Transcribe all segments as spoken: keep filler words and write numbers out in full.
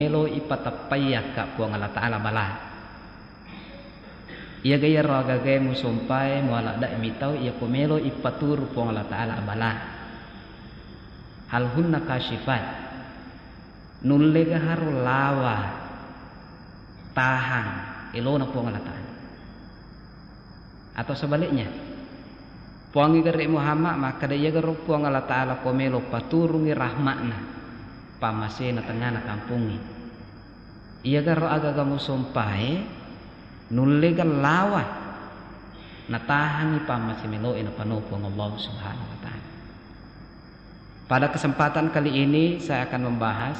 melo ipateppai akka Puang Allah Ta'ala bala. Iyaga iyaro agagae musompae mualadda mitau iyako melo ipaturu Puang Allah Ta'ala bala. Hal hunna kasyifat. Nullega haro lawa tahang elona Puang Allah Ta'ala. Atau sebaliknya, Puangnge gare Muhammad makkeda, iyagaro Puang Allah Ta'ala ko melo paturungi rahma'na, pammasena tengngana kampongnge. Iyagaro agaga musompae nullega lawa natahangi pammase meloe napano Puang Allah Subhanahu wa Ta'ala. Pada kesempatan kali ini saya akan membahas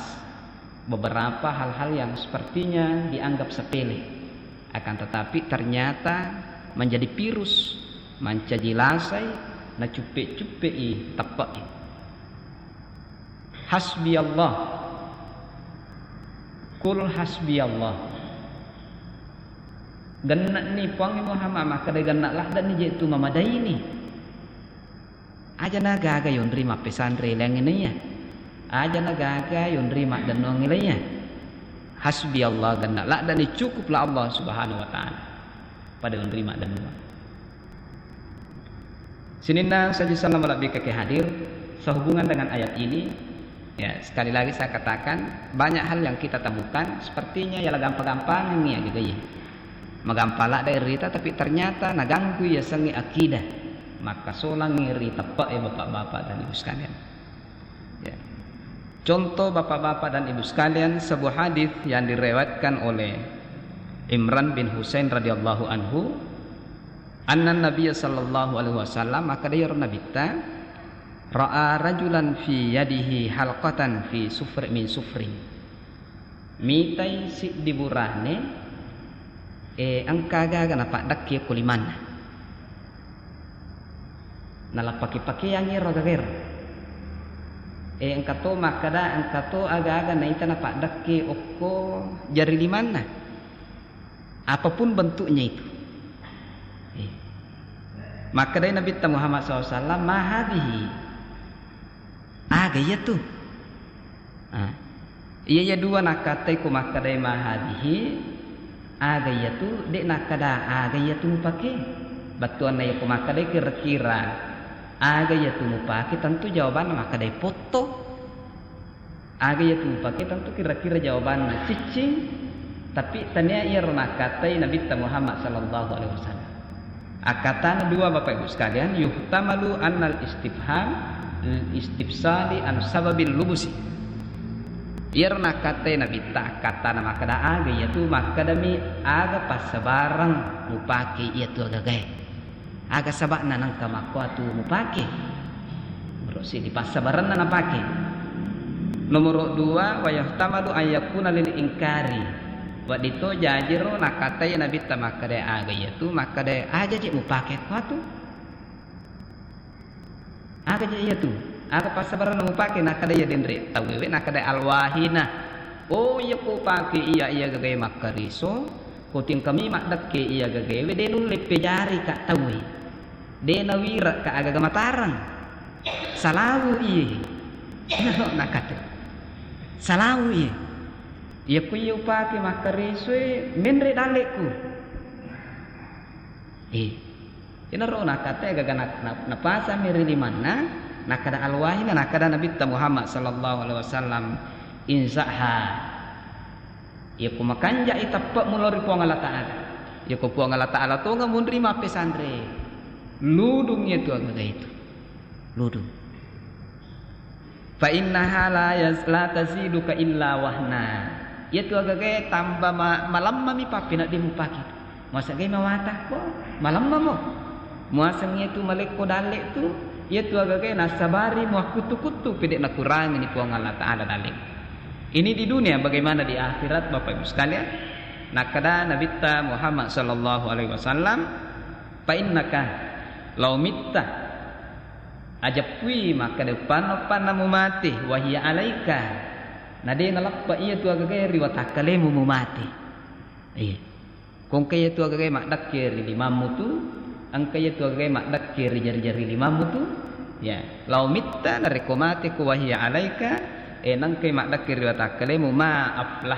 beberapa hal-hal yang sepertinya dianggap sepele, akan tetapi ternyata menjadi virus, mancaji lasai, nacuppe-cuppei teppe'e. Hasbi Allah. Qul hasbi Allah. Genna'ni Puang Muhammad, makkeda genna' ladde'ni je tu mamadaini. Aja na gaga yonri mappesanre laingnge naiya. Aja na gaga yonri maddennuangnge laiya. Hasbi Allah, genna' ladde'ni, cukuplah Allah Subhanahu wa Ta'ala. Pada yonri maddennuang. Sininna saji sallam malebbi keke hadir, sehubungan dengan ayat ini, ya, sekali lagi saya katakan, banyak hal yang kita temukan, sepertinya yala gampang-gampangengngi ya, gitu ya. Magampang ladde rita, tapi ternyata naganggu yasengnge akidah. Makkasolangngi ri teppe'e, Bapak-bapak dan Ibu sekalian. Ya. Contoh, Bapak-bapak dan Ibu sekalian, sebuah hadis yang diriwayatkan oleh Imran bin Husain radhiyallahu anhu, anna Nabiya sallallahu alaihi wasallam, makkeda iyaro Nabitta, ra'a rajulan fi yadihi halqatan fi sufr-, min sufrin. Mitai siddi burane, eh, engka aga-aga napaddekke ko limanna. Nalappake-pakeangngi ero aga-aga ero. Eh, engka to makkeda, engka to aga-aga naita napaddekke okko jari limanna. Apapun bentuknya itu. Eh. Makkedai Nabitta Muhammad sallallahu alaihi wasallam, "Ma hadhihi?" Aga iyatu? Ah. Iya, iya dua nakkattai ko makkedai ma hadhihi, aga iyatu, de' nakkeda aga iyatu mupake. Bettuanna iya ko makkedai kira-kira aga iyatu mupake, tentu jawabanna makkedai potto. Aga iyatu mupake, tentu kira-kira jawabanna ciccing, tapi tania iyaro nakkattai Nabitta Muhammad sallallahu alaihi wasallam. Akkatana dua, Bapak Ibu sekalian, yuhtamalu annal istifham lil istifsali an sababil lubusi. Iyaro nakkattai Nabitta, akkatana makkeda aga iyatu, makkedami aga passabareng mupake iyatu agagae. Aga saba'na nengka makkuatu mupake? Nomoro' siddi, passabarenna napake. Nomoro' dua, wa yuhtamalu an yakuna lil ingkari. Wedding to jajiro nakkattai Nabitta makkeda aga iyatu, makkeda aja je mupake kuatu. Aga je iyatu? Aga passabarenna mupake? Nakkeda iya denre tauwe, nakkeda alwahina. Oh, iya ko pake iya, iya gagae makkariso, ko tingkami maddekke iya gagaewe, de nulle pejari ka tauwe. De nawira ka agaga matareng. Salawu iye. Nakate. Salawu iye. Iya ko iya upake makkarisoe, menre dalleku. Eh. Inaro nakkattai gaga na-, na-, napasami ri limanna, nakkeda alwahina, nakkeda Nabitta Muhammad sallallahu alaihi wasallam, inza'ha. Iyako makanja'i teppe'mu lao ri Puang Allah Ta'ala. Iyako Puang Allah Ta'ala tonga munri mappesanre. Ludung iyatu agaga itu. Ludung. Fa innaha la yaz-, la taziduka illa wahna. Iyatu agagae tamba ma-, malemmami pappenedding mupake. Muaseng gai mawatako, malemmamo. Muaseng iyatu malekko dalle tu, iyatu agagae nassabari muakkuttu-kuttu pede nakurangini Puang Allah Ta'ala dalle. Ini di dunia, bagaimana di akhirat, Bapak Ibu sekalian? Nakkeda Nabitta Muhammad sallallahu alaihi wasallam, fa innaka lau mitta, ajappui makkeda uppanna-uppanna mumate, wahiya alaika, na de naleppe iyatu agagae ri watakkalemu mumate. Iya. Ko engka iyatu agagae maddekke ri limammu tu, engka iyatu agagae maddekke ri jari-jari limammu tu, ya, lau mitta, narekko mate ko wahiya alaika, e, nengkai maddekke ri watakkalemu, ma aflah